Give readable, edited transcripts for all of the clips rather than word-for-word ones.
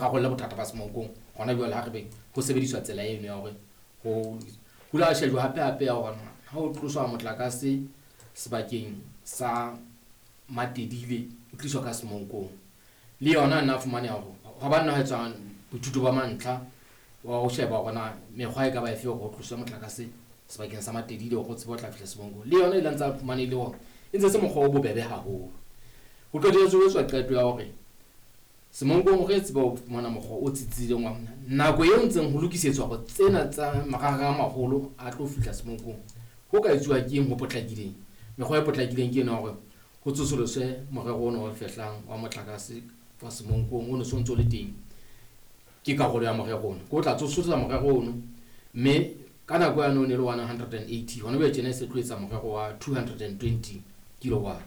rarolle bothata ba Semonkong hona jwale ha re be ho sebediswa tsela eno ya hore ho hula shejwa hape hape ya hore ha o tloswa motlakase sebakeng sa Matedile o tliswa ka Semonkong le yona nna fumaneha hore ha ba nna ho etswa boithuto ba mantlha wa ho sheba hore na mekgwa e ka ba efe hore ho tloswe motlakase sebakeng sa Matedile hore o tsebe ho tla fihla Semonkong. Le yona e ile ntse fumanehile hore e ntse se mokgwa o bobebe haholo. Ho qetelletse ho etswa qeto ya hore Semonkong re tsebe ho fumana mokgwa o tsitsitseng wa nako eo ntseng ho lokisetswa hore tsena tsa marangrang a maholo a tlo fihla Semonkong, ho ka etsuwa ke eng ho potlakileng. Mekgwa e potlakileng ke ena hore ho tsosoloswe morero ona o fehlang wa motlakase wa Semonkong o no so ntso le teng. Ke karolo ya morero ona, ke o tla tsosolosa morero ono, mme ka nako yane o ne le 180, hona jwale tjena e se tlo etsa morero wa 220 kilowatt.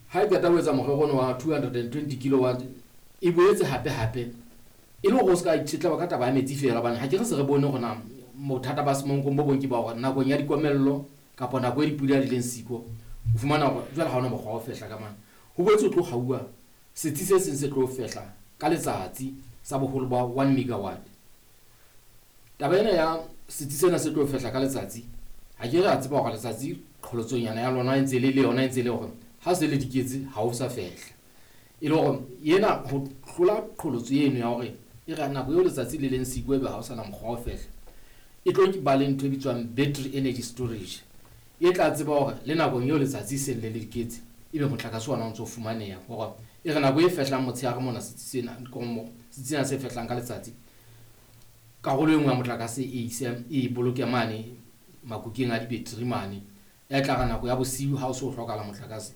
Ha e qeta ho etsa morero ona wa 220 kilowatt, e boetse hape hape e le hore o se ka itshetleba ka taba ya metsi feela, hobane ha ke re se re bone hore na bothata ba Semonkong bo bong ke ba hore nakong ya dikomello kapa nako e dipula di leng siko, o fumana hore jwale ha hona mokgwa wa ho fehla ka mane. Ho boetse o tlo hauwa setsi se seng se tlo fehla ka letsatsi sa boholo ba 1 megawatt. Taba ena ya setsi sena se tlo fehla ka letsatsi, ha ke re a tseba hore letsatsi qholotsonyana ya lona e ntse le yona e ntse le hore ha se le diketse ha o sa fehla. E le hore yena ho hlola qholotso eno ya hore e re nako eo letsatsi le leng siko ebe ha o sana mokgwa wa ho fehla, e tlo ba le ntho e bitswang battery energy storage e tla tseba hore le nakong eo letsatsi seng le le diketse ebe motlakase ona o ntso fumaneha, hore e re nako e fehlang motshehare mona setsi sena setsi sena se fehlang ka letsatsi, karolo e nngwe ya motlakase e ise e boloke mane makukeng a di-battery mane, e tla re nako ya bosiu ha o so hlokahala motlakase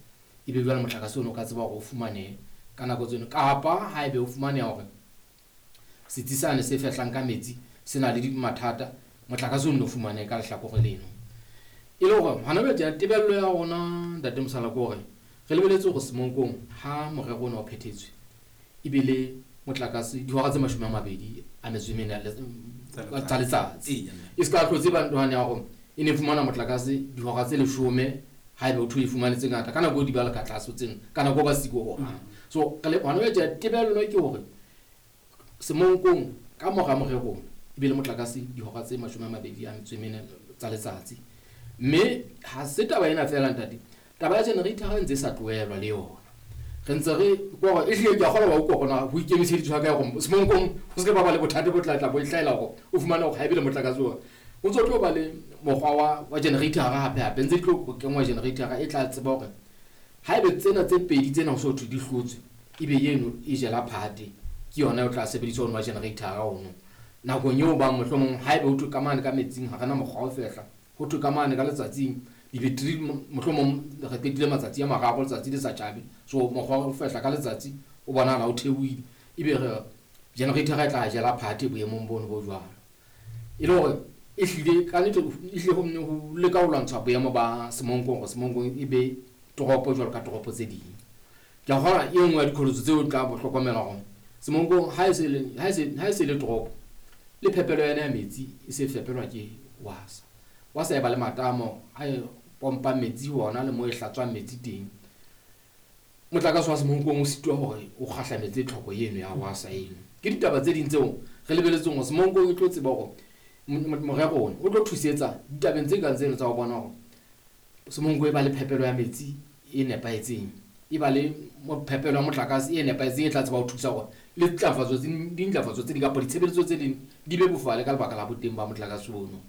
ebe jwale motlakase ono o ka tseba hore o fumanehe ka nako tseno. Kapa haebe o fumaneha hore setsi sane se fehlang ka metsi se na le mathata, motlakase o nno fumanehe ka lehlakore leno. E le hore hona jwale tjena tebello ya rona ntate Mosala ke hore re lebeletse hore Semonkong ha morero ona o phethetswe e be le motlakase dihora tse 24 tsa letsatsi. E se ka hlotse ba ntohane ya hore e ne fumana motlakase dihora tse 10 haebe o thwe e fumane tse ngata ka nako di ba le ka tlase tseno, ka nako ba siko ho hang. So re le hona jwale tebello ke hore Semonkong ka mora morero e be le motlakase dihora tse 24 tsa letsatsi. Mme ha se taba ena feela ntate, taba ya generator ha ntse sa tlohelwa le yona. Re ntse re hore e hlile ke a kgolwa wa utlwa hore na ho ikemiseditswe ha kae hore Semonkong ho se ke ba ba le bothata bo tla tla bo hlahela hore o fumane hore ha ebe le motlakase ona. O ntso tlo ba le mokgwa wa generator hape hape, ntse di tlo kenngwa generator e tla tseba hore haebe tsena tse pedi tsena ho so thwe di hlotswe, ebe eno e jela phate, ke yona o tla sebedisa ono wa generator ono. Nakong eo ba mohlomong haebe ho thwe ka mane ka metsing ha rena mokgwa wa ho fehla, ho thwe ka mane ka letsatsing di-battery mohlomong re qetile matsatsi a mararo letsatsi le sa tjhabe, so mokgwa wa ho fehla ka letsatsi o bonahala o theohile, ebe re generator e tla jela phate boemong bono bo jwalo. E le hore e hlile ka nnete e hlile ho nne ho leka ho lwantsha boemo ba Semonkong hore Semonkong e be toropo jwalo ka toropo tse ding. Ke a kgolwa e nngwe ya diqholotso tseo tla bo hlokomela hore Semonkong ha e se le ha e se le toropo le phepelo yona ya metsi e se fepelwa ke WASA. WASA e ba le matamo a e pompang metsi hona le mo e hlatswang metsi teng. Motlakase wa Semonkong o sitwa hore o kgahlametse tlhoko eno ya WASA eno. Ke ditaba tse ding tseo re lebeletseng hore Semonkong e tlo tseba hore morero ona o tlo thusetsa ditabeng tse kang tseno tsa ho bona hore Semonko e ba le phepelo ya metsi e nepahetseng, e ba le phepelo ya motlakase e nepahetseng e tla tseba ho thusa hore le ntlafatso tse dintlafatso tse ding kapa ditshebeletso tse ding di be bofale ka lebaka la boteng ba motlakase ono.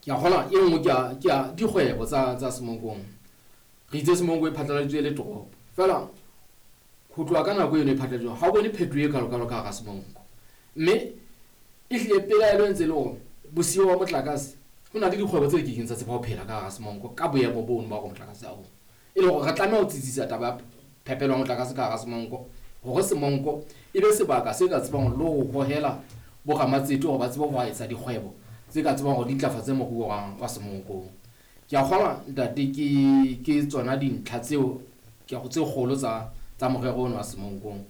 Ke a kgolwa e nngwe ke ya dikgwebo tsa Semonkong. Re itse Semonko e phatlaladitswe e le toropo, feela ho tloha ka nako eno e phatlaladitsweng ha o bone phetoho e kalokalo ka hara Semonko. Mme e hlile pelaelo e ntse e le hore bosiyo ba motlakase ho na le dikgwebo tse kekeng tsa tseba ho phela ka hara Semonko ka boemo bono ba hore motlakase ha o. E le hore re tlameha ho tsitsisa taba ya phepelo ya motlakase ka hara Semonko hore Semonko e be sebaka se ka tsebang le ho hohela boramatsete hore ba tsebe ho etsa dikgwebo tse ka tsebang hore di ntlafatse moruo wa Semonkong. Ke a kgolwa ntate ke tsona dintlha tseo ke tse kgolo tsa morero ono wa Semonkong.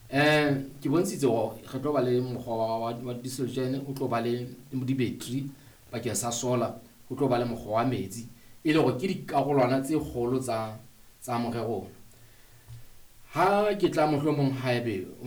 Ke bontshitse hore re tlo ba le mokgwa wa diesel gen, o tlo ba le di-battery bakeng sa solar, ho tlo ba le mokgwa wa metsi, e le hore ke dikarolwana tse kgolo tsa morero ona. Ha ke tla mohlomong haebe o